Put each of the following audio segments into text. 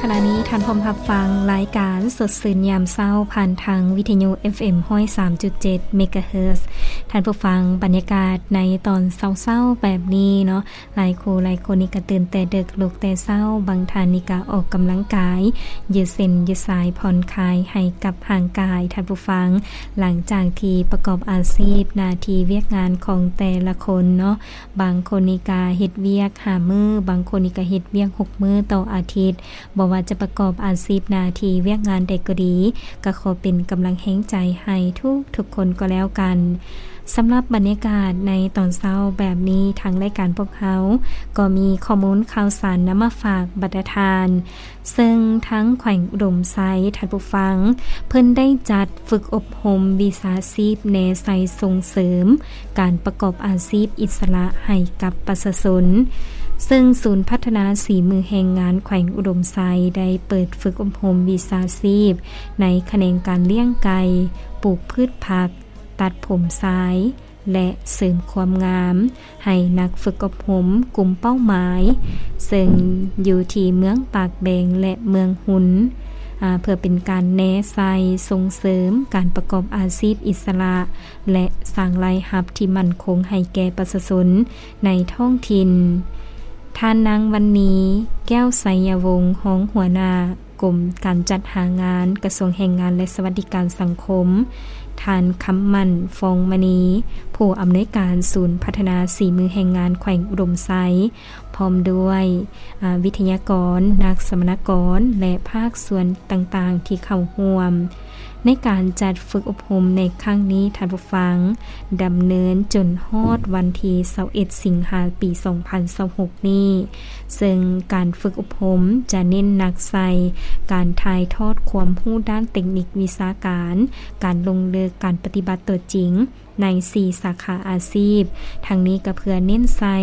ຂະນະນີ້ທ່ານພ້ອມຮັບຟັງລາຍການສົດຊື່ນຍາມເຊົ້າ ຜ່ານທາງວິທະຍຸ ເອັຟເອັມ ຮ້ອຍສາມຈຸດເຈັດ ເມກາເຮີດ. ທ່ານຜູ້ຟັງ, ບັນຍາກາດໃນຕອນເຊົ້າໆແບບນີ້ເນາະ, ຫຼາຍຄູ່ຫຼາຍຄົນນີ້ກໍຕື່ນແຕ່ເດິກ ລຸກແຕ່ເຊົ້າ, ບາງທ່ານນີ້ກໍອອກກຳລັງກາຍ ຢືດເສັ້ນຢືດສາຍ ຜ່ອນຄາຍໃຫ້ກັບຮ່າງກາຍ. ທ່ານຜູ້ຟັງ, ຫຼັງຈາກທີ່ປະກອບອາຊີບ ໜ້າທີ່ວຽກງານຂອງແຕ່ລະຄົນເນາະ, ບາງຄົນນີ້ກະເຮັດວຽກຫ້າມື້, ບາງຄົນນີ້ກະເຮັດວຽກຫົກມື້ຕໍ່ອາທິດ. ບໍ່ວ່າຈະປະກອບອາຊີບໜ້າທີ່ວຽກງານໃດກໍດີ, ກະຂໍເປັນກຳລັງແຮງໃຈໃຫ້ທຸກໆຄົນກໍແລ້ວກັນ. ສຳລັບບັນຍາກາດໃນຕອນເຊົ້າແບບນີ້, ທາງລາຍການພວກເຮົາກໍມີຂໍ້ມູນຂ່າວສານນຳມາຝາກບັນດາທ່ານ. ເຊິ່ງທາງແຂວງອຸດົມໄຊ, ທ່ານຜູ້ຟັງ, ເພິ່ນໄດ້ຈັດຝຶກອົບຮົມວິຊາຊີບແນໃສ່ສົ່ງເສີມການປະກອບອາຊີບອິດສະຫຼະໃຫ້ກັບປະຊາຊົນ, ເຊິ່ງສູນພັດທະນາສີມືແຮງງານແຂວງອຸດົມໄຊ ໄດ້ເປີດຝຶກອົບຮົມວິຊາຊີບໃນຂະແໜງການລ້ຽງໄກ່, ປູກພືດຜັກ, ຕັດຜົມຊາຍ ແລະ ເສີມຄວາມງາມ ໃຫ້ນັກຝຶກອົບຮົມກຸ່ມເປົ້າໝາຍ ເຊິ່ງຢູ່ທີ່ເມືອງປາກແບງ ແລະ ເມືອງຮຸນ, ອາ, ເພື່ອເປັນການແນໃສ່ສົ່ງເສີມການປະກອບອາຊີບອິດສະຫຼະ ແລະ ສ້າງລາຍຮັບທີ່ໝັ້ນຄົງໃຫ້ແກ່ປະຊາຊົນໃນທ້ອງຖິ່ນ. ທ່ານນາງ ວັນນີ ແກ້ວໄຊຍະວົງ, ຮອງຫົວໜ້າ ກົມການຈັດຫາງານ ກະຊວງແຮງງານ ແລະ ສະຫວັດດີການສັງຄົມ, ທ່ານ ຄຳໝັ້ນ ຟອງມະນີ, ຜູ້ອຳນວຍການສູນພັດທະນາສີມືແຮງງານແຂວງອຸດົມໄຊ, ພ້ອມດ້ວຍ, ອາ, ວິທະຍາກອນ, ນັກສຳມະນາກອນ ແລະ ພາກສ່ວນຕ່າງໆທີ່ເຂົ້າຮ່ວມ. ໃນການຈັດຝຶກອົບຮົມໃນຄັ້ງນີ້, ທ່ານຜູ້ຟັງ, ດຳເນີນຈົນຮອດວັນທີຊາວເອັດ ສິງຫາ ປີສອງພັນຊາວຫົກນີ້, ເຊິ່ງການຝຶກອົບຮົມຈະເນັ້ນໜັກໃສ່ການຖ່າຍທອດຄວາມຮູ້ດ້ານເຕັກນິກວິຊາການ, ການລົງເລິກ, ການປະຕິບັດຕົວຈິງໃນສີ່ສາຂາອາຊີບ. ທັງນີ້ກໍເພື່ອເນັ້ນໃສ່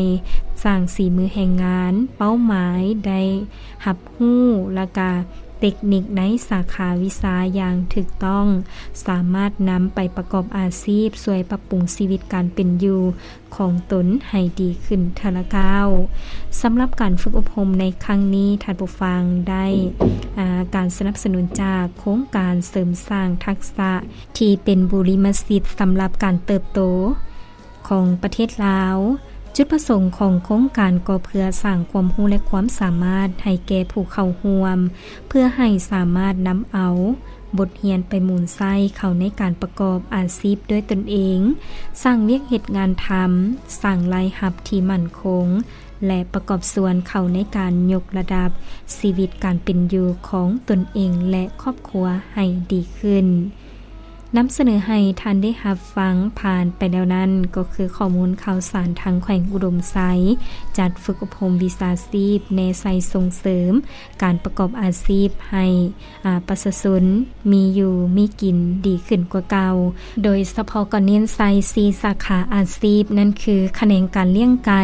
ສ້າງສີມືແຮງງານເປົ້າໝາຍໄດ້ຮັບຮູ້ ແລະກະເຕັກນິກໃນສາຂາວິຊາຢ່າງຖືກຕ້ອງ, ສາມາດນຳໄປປະກອບອາຊີບ, ຊ່ວຍປັບປຸງຊີວິດການເປັນຢູ່ ຂອງຕົນໃຫ້ດີຂຶ້ນເທື່ອລະກ້າວ. ສຳລັບການຝຶກອົບຮົມໃນຄັ້ງນີ້, ທ່ານຜູ້ຟັງໄດ້, ອາ, ການສະໜັບສະໜູນຈາກໂຄງການເສີມສ້າງທັກສະທີ່ເປັນບູລິມະສິດສຳລັບການເຕີບໂຕຂອງປະເທດລາວ. ຈຸດປະສົງຂອງໂຄງການກໍເພື່ອສ້າງຄວາມຮູ້ ແລະ ຄວາມສາມາດໃຫ້ແກ່ຜູ້ເຂົ້າຮ່ວມ, ເພື່ອໃຫ້ສາມາດນຳເອົາ ບົດຮຽນໄປໝູນໃຊ້ເຂົ້າໃນການປະກອບອາຊີບດ້ວຍຕົນເອງ, ສ້າງວຽກເຮັດງານທຳ, ສ້າງລາຍຮັບທີ່ໝັ້ນຄົງ ແລະ ປະກອບສ່ວນເຂົ້າໃນການຍົກລະດັບຊີວິດການເປັນຢູ່ຂອງຕົນເອງ ແລະ ຄອບຄົວໃຫ້ດີຂຶ້ນ. ນຳສະເໜີໃຫ້ທ່ານໄດ້ຮັບຟັງຜ່ານໄປແລ້ວນັ້ນ ກໍຄືຂໍ້ມູນຂ່າວສານທາງແຂວງອຸດົມໄຊ ຈັດຝຶກອົບຮົມວິຊາຊີບແນໃສ່ສົ່ງເສີມ ການປະກອບອາຊີບໃຫ້ ອາ ປະຊາຊົນມີຢູ່ມີກິນດີຂຶ້ນກວ່າເກົ່າ, ໂດຍສະເພາະກໍເນັ້ນໃສ່ສີ່ສາຂາອາຊີບ, ນັ້ນຄືຂະແໜງການລ້ຽງໄກ່,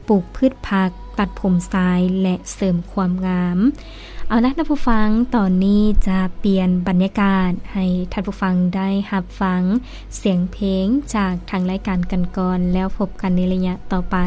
ປູກພືດຜັກ, ຕັດຜົມຊາຍ ແລະ ເສີມຄວາມງາມ. ເອົາລະ ທ່ານຜູ້ຟັງ, ຕອນນີ້ຈະປ່ຽນບັນຍາກາດໃຫ້ທ່ານຜູ້ຟັງໄດ້ຮັບຟັງສຽງເພງຈາກທາງລາຍການກັນກ່ອນ, ແລ້ວພົບກັນໃນໄລຍະຕໍ່ໄປ.